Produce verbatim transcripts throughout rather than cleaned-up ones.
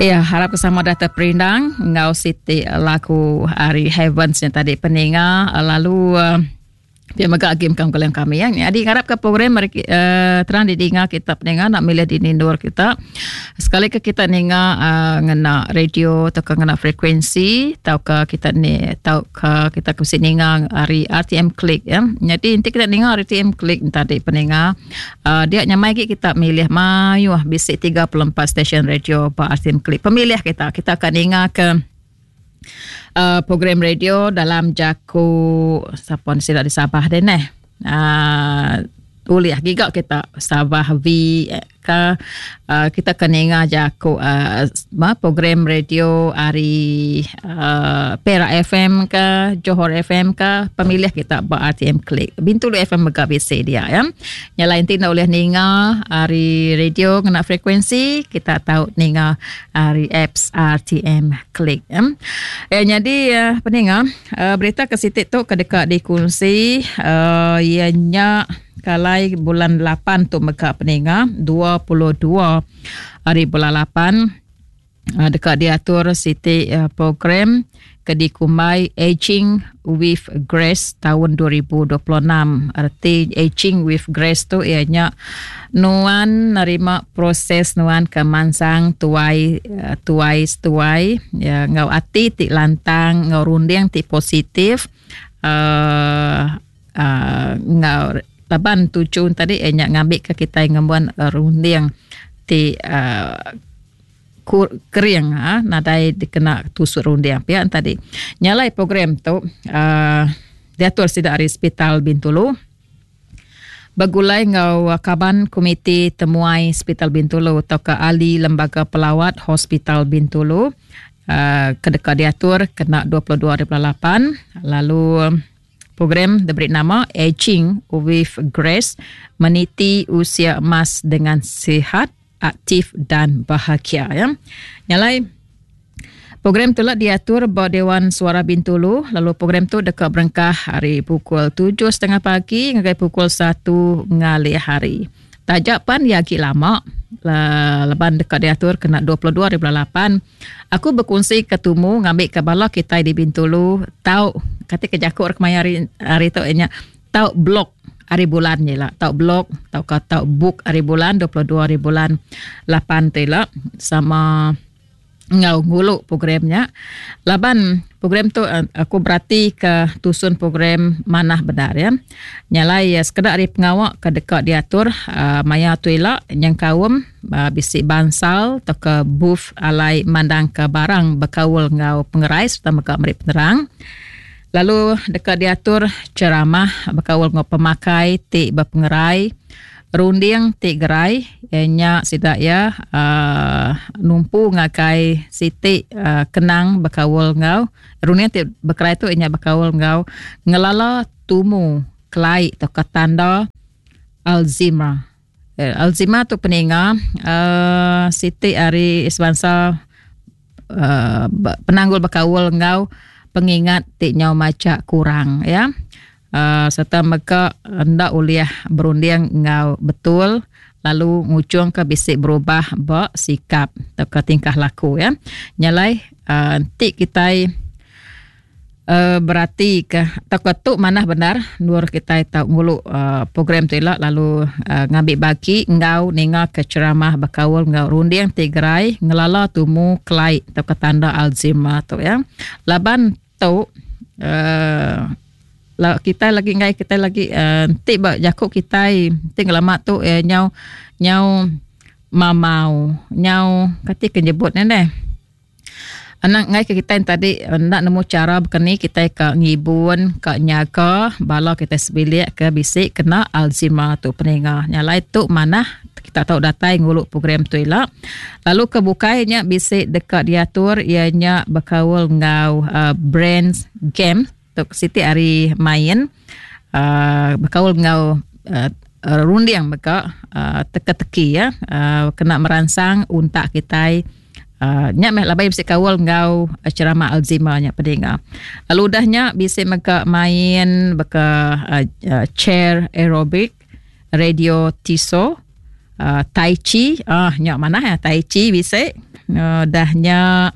Ya, harap sama data perindang ngau siti lagu hari Heavens yang tadi peninga lalu uh, dia mega agi mekang kuliah kami ya. Jadi harap ke program mereka uh, terang didinga kita peninga nak milih di nindur kita. Sekali ke kita ninga uh, ngena radio atau ke ngena frekuensi atau ke kita ni atau ke kita ke ninga hari R T M Click ya. Jadi nanti kita ninga R T M Click tadi peninga uh, dia nyamai kita milih mayuh bisik tiga puluh empat stesen radio ba R T M Click. Pemilih kita kita akan ninga ke Uh, program radio dalam jaku siapa ni sila di Sabah deh neh. Uh, uliah giga kita Sabah V ke uh, kita kena ingat jaku uh, program radio hari uh, Perak F M ke Johor F M ke pemilih kita ba R T M Click. Bintulu F M mega B C dia ya. Yang lain ti nak boleh ninga hari radio kena frekuensi kita tahu ninga hari apps R T M Click ya. Eh, jadi uh, peninga uh, berita ke sitik tu kedekat dikongsi uh, ianya kalai bulan lapan tu mega peninga dua puluh dua hari bulan lapan dekat diatur siti program Kedikumai Aging with Grace tahun dua ribu dua puluh enam. Arti Aging with Grace tu ianya nuan nerima proses nuan ke mansang tuai tuai tuai ya ngau ati ti lantang ngau runding ti positif uh, uh, ngau laban tujuan tadi eh, nyak ngambil ke kita ngembuan uh, runding ti uh, kur, kering ha, nadai dikena tusuk runding pihak tadi. Nyalai program tu uh, diatur sida dari Hospital Bintulu. Begulai ngau kaban komiti temuai Hospital Bintulu atau ke ahli lembaga pelawat Hospital Bintulu uh, kedeka diatur kena dua puluh dua hari bulan lapan lalu program diberi nama Aging with Grace, meniti usia emas dengan sihat, aktif dan bahagia ya. Nyalai program tu lah diatur ba Dewan Suara Bintulu, lalu program tu dekat berengkah hari pukul tujuh setengah pagi hingga pukul satu ngalih hari. Tajak pan ya agak lama. Leban dekat diatur kena dua puluh dua hari bulan lapan. Aku berkongsi ketumu ngambil ke bala kita di Bintulu tau kata ke jakuk kemaya hari hari tu nya tau blok hari bulan je lah tau blok tau ka tau book hari bulan dua puluh dua hari bulan lapan tu lah sama ngau nguluk programnya. Laban program tu aku berarti ke tusun program manah benar ya. Nyalai ya sekedar hari pengawak ke dekat diatur uh, maya tu elak yang kaum uh, bisik bansal atau ke booth alai mandang ke barang berkaul ngau pengerai serta mega meri penerang. Lalu dekat diatur ceramah berkaul ngau pemakai ti berpengerai runding ti gerai ianya sidak ya uh, numpu ngakai siti uh, kenang berkaul ngau runding ti berkerai tu ianya berkaul ngau ngelala tumu kelai atau tanda Alzheimer. Eh, Alzheimer tu peninga uh, siti hari sebangsa uh, penanggul berkaul ngau pengingat ti nyau maca kurang ya. Uh, serta mega hendak uliah berunding ngau betul lalu ngucung ke bisik berubah ba sikap atau ke tingkah laku ya. Nyalai uh, nanti kita uh, berarti ke atau ke tu mana benar nur kita tahu ngulu uh, program tu elak lalu uh, ngambil bagi ngau ninga ke ceramah berkaul ngau runding tigerai ngelala tumu kelai atau ke tanda Alzheimer tu ya. Laban tu uh, la kita lagi ngai kita lagi nanti uh, ba jakuk kita nanti lama tu eh, nyau nyau mamau nyau kati kenyebut ni deh. Anak ngai ke kita yang tadi nak nemu cara bekeni kita ke ngibun ke nyaga bala kita sebilik ke bisik kena Alzheimer tu peninga. Nyalai tu mana kita tahu datai nguluk program tu elak. Lalu kebukainya bisik dekat diatur ianya berkaul ngau uh, brands game tu siti hari main uh, berkaul ngau uh, runding meka uh, teka-teki ya uh, kena merangsang untak kita uh, nyak meh labai bisik kaul ngau ceramah Alzheimer nya peninga. Lalu udahnya bisik meka main beka uh, uh, chair aerobic, radio tiso, uh, tai chi, ah uh, nyak mana ya tai chi bisik. Uh, dahnya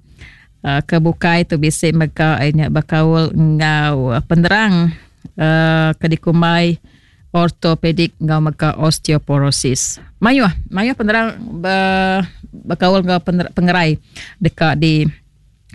uh, ke bukai tu bisi mega nya bekaul ngau penerang uh, ke dikumbai ortopedik ngau mega osteoporosis. Mayuh, mayuh penerang be, bekaul ngau pengerai dekat di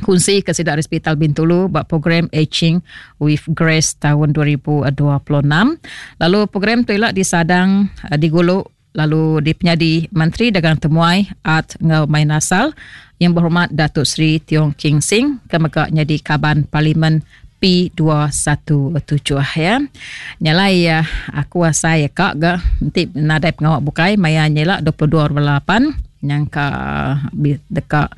kunsi ke sidak Hospital Bintulu buat program Aging with Grace tahun dua ribu dua puluh enam. Lalu program tu ialah disadang digulu lalu dipenyadi Menteri Dagang Temuai Art ngau Main Asal yang berhormat Datuk Seri Tiong King Sing ke mega nyadi kaban Parlimen P dua satu tujuh ya. Nyalai ya aku asai ya kak ga nanti nadai pengawak bukai maya nyela dua puluh dua lapan yang ka deka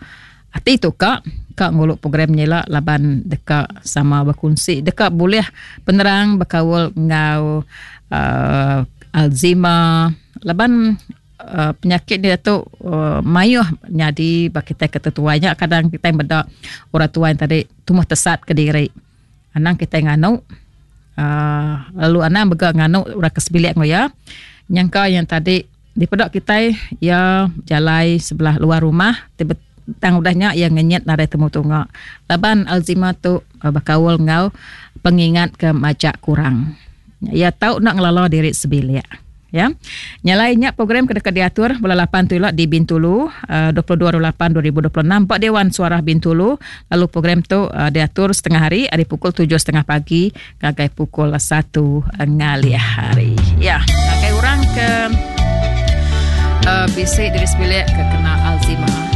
ati tu kak kak nguluk program nyela laban deka sama berkongsi deka boleh penerang berkaul ngau uh, Alzheimer laban uh, penyakit dia tu uh, mayuh nyadi bagi kita ketetuanya kadang kita beda orang tua yang tadi tumbuh tesat ke diri. Anang kita nganu uh, lalu anang bega nganu orang kesebilik ngo ya. Nyangka yang tadi dipedak kita ya jalai sebelah luar rumah tiba tang udahnya yang ngenyet nadai temu tunga. Laban Alzheimer tu uh, bakaul ngau pengingat ke majak kurang. Ya tau nak ngelala diri sebilik. Ya. Nyalainya program kedeka diatur bulan lapan tu di Bintulu uh, dua puluh dua lapan dua ribu dua puluh enam Pak Dewan Suara Bintulu. Lalu program tu uh, diatur setengah hari hari pukul tujuh setengah pagi ngagai pukul satu ngalih hari. Ya, ngagai orang ke uh, bisik diri sebilik ke kena Alzheimer.